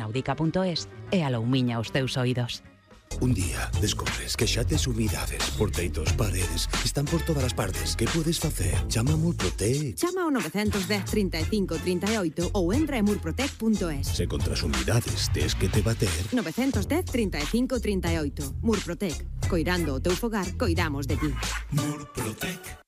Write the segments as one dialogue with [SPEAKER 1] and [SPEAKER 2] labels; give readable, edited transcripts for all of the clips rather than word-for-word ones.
[SPEAKER 1] naudica.es e aloumiña os teus oídos.
[SPEAKER 2] Un día descubres que xa tes humidades por teitos, paredes, están por todas as partes. Que podes facer? Chama a Murprotec.
[SPEAKER 3] Chama ao 910 35 38 ou entra en murprotec.es.
[SPEAKER 2] Se contra as humidades tes que te bater.
[SPEAKER 3] 910 35 38. Murprotec. Coirando o teu fogar, coidamos de ti.
[SPEAKER 4] Murprotec.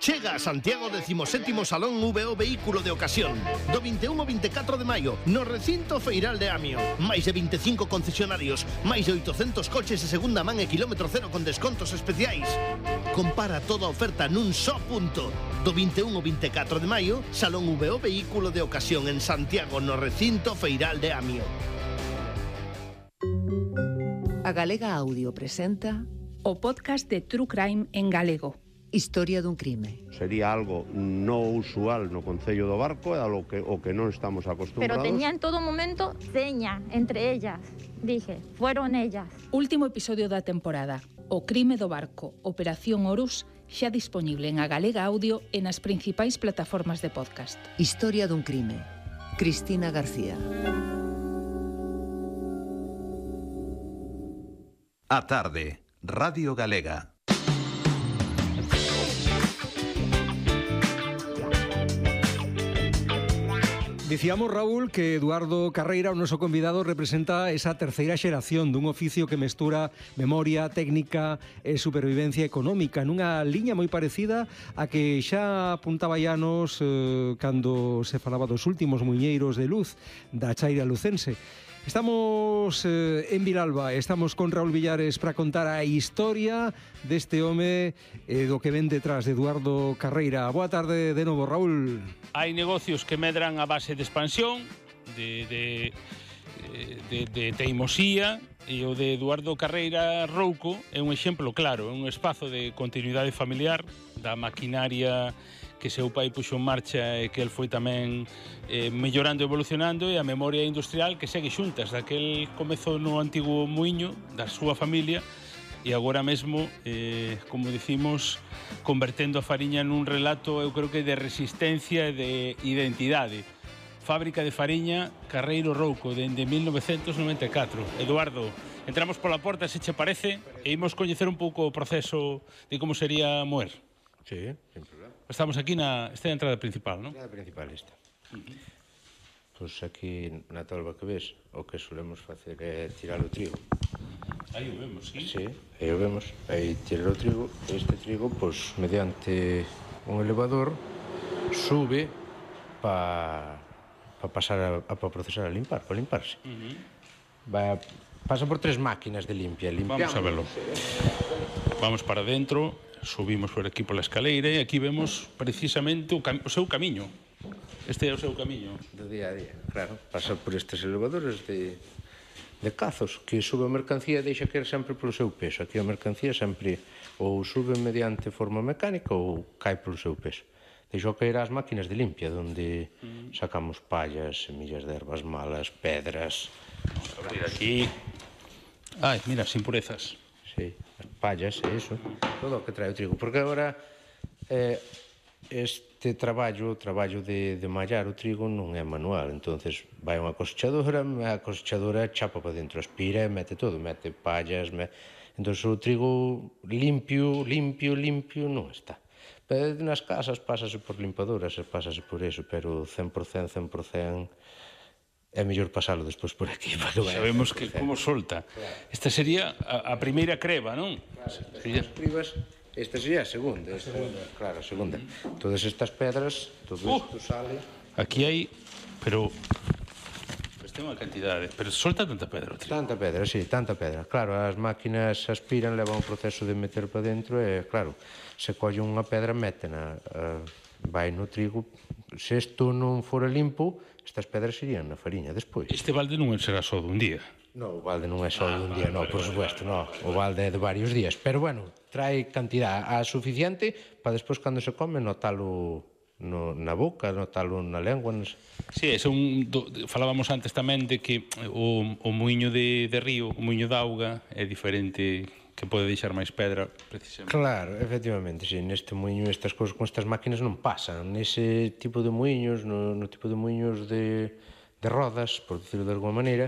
[SPEAKER 5] Chega a Santiago 17º Salón VO Vehículo de Ocasión do 21 ao 24 de maio no recinto feiral de Amio. Máis de 25 concesionarios, máis de 800 coches de segunda man e kilómetro cero con descontos especiais. Compara toda a oferta nun só punto. Do 21 ao 24 de maio, Salón VO Vehículo de Ocasión en Santiago no recinto feiral de Amio.
[SPEAKER 6] A Galega Audio presenta
[SPEAKER 7] o podcast de True Crime en galego.
[SPEAKER 6] Historia dun crime.
[SPEAKER 8] Sería algo non usual no Concello do Barco, é o que non estamos acostumbrados.
[SPEAKER 9] Pero tenía en todo momento seña entre ellas. Dije, fueron ellas.
[SPEAKER 7] Último episodio da temporada. O crime do barco, Operación Horus, xa disponible en A Galega Audio e nas principais plataformas de podcast.
[SPEAKER 6] Historia dun crime. Cristina García.
[SPEAKER 10] A tarde, Radio Galega.
[SPEAKER 11] Dicíamos, Raúl, que Eduardo Carreira, o noso convidado, representa esa terceira xeración dun oficio que mestura memoria, técnica e supervivencia económica nunha liña moi parecida a que xa apuntaba Llanos cando se falaba dos últimos muiñeiros de luz da chaira lucense. Estamos en Vilalba, estamos con Raúl Villares para contar a historia deste home do que ven detrás de Eduardo Carreira. Boa tarde de novo, Raúl.
[SPEAKER 12] Hai negocios que medran a base de expansión, de teimosía, e o de Eduardo Carreira Rouco é un exemplo claro, é un espazo de continuidade familiar da maquinaria que seu pai puxo en marcha e que el foi tamén mellorando e evolucionando, e a memoria industrial que segue xuntas daquel comezo no antigo muiño da súa familia e agora mesmo, como dicimos, convertendo a fariña nun relato, eu creo que de resistencia e de identidade. Fábrica de fariña Carreiro Rouco, dende 1994. Eduardo, entramos pola porta, se che parece, e imos coñecer un pouco o proceso de como sería moer.
[SPEAKER 8] Sí, sin problema.
[SPEAKER 12] Estamos aquí esta é a entrada principal, non?
[SPEAKER 8] A entrada principal esta. Pois aquí na tolva que ves, o que solemos facer é tirar o trigo.
[SPEAKER 12] Aí o vemos, sí?
[SPEAKER 8] Sí, aí o vemos. Aí tirar o trigo, este trigo, pois, mediante un elevador, sube para pasar para procesar a limpar, para limparse. Pasa por 3 máquinas de limpia.
[SPEAKER 12] Vamos a verlo. Vamos para dentro, subimos por aquí pola escaleira e aquí vemos precisamente o seu camiño. Este é o seu camiño.
[SPEAKER 8] Do día a día, claro. Pasa por estes elevadores de cazos, que sube a mercancía e deixa caer sempre polo seu peso. Aquí a mercancía sempre ou sube mediante forma mecánica ou cae polo seu peso. Deixou caer as máquinas de limpia, onde sacamos pallas, semillas de ervas malas, pedras.
[SPEAKER 12] Vamos a abrir aquí. Ai, mira, as impurezas.
[SPEAKER 8] Sí, as pallas e iso, todo o que trae o trigo, porque agora este traballo de mallar o trigo non é manual, entonces vai unha cosechadora, a cosechadora chapa para dentro, aspira e mete todo, mete pallas, entonces o trigo limpio non está. Pero nas casas pásase por limpadoras e pásase por eso, pero 100% é mellor pasalo despois por aquí.
[SPEAKER 12] Sabemos que como solta. Esta sería a primeira creba, non?
[SPEAKER 8] As cribas, esta sería a segunda. Claro, a segunda. Todas estas pedras, todo isto sale.
[SPEAKER 12] Aquí hai, pero ten unha cantidade, pero solta tanta pedra.
[SPEAKER 8] Tanta pedra, sí, tanta pedra. Claro, as máquinas aspiran, levan un proceso de meter para dentro e, claro, se colle unha pedra, métena, vai no trigo. Se isto non fora limpo, estas pedras irían na fariña despois.
[SPEAKER 12] Este balde non será só dun día?
[SPEAKER 8] Non, o balde non é só dun día, non, por supuesto, non. O balde é de varios días, pero, bueno, trae cantidad a suficiente para despois, cando se come, notalo na boca, notalo na lengua.
[SPEAKER 12] Sí, falábamos antes tamén de que o muiño de río, o muiño de auga, é diferente, que pode deixar máis pedra, precisamente.
[SPEAKER 8] Claro, efectivamente, sí, neste muiño, estas cousas con estas máquinas non pasan. Nese tipo de muiños, no tipo de muiños de rodas, por decirlo de alguma maneira,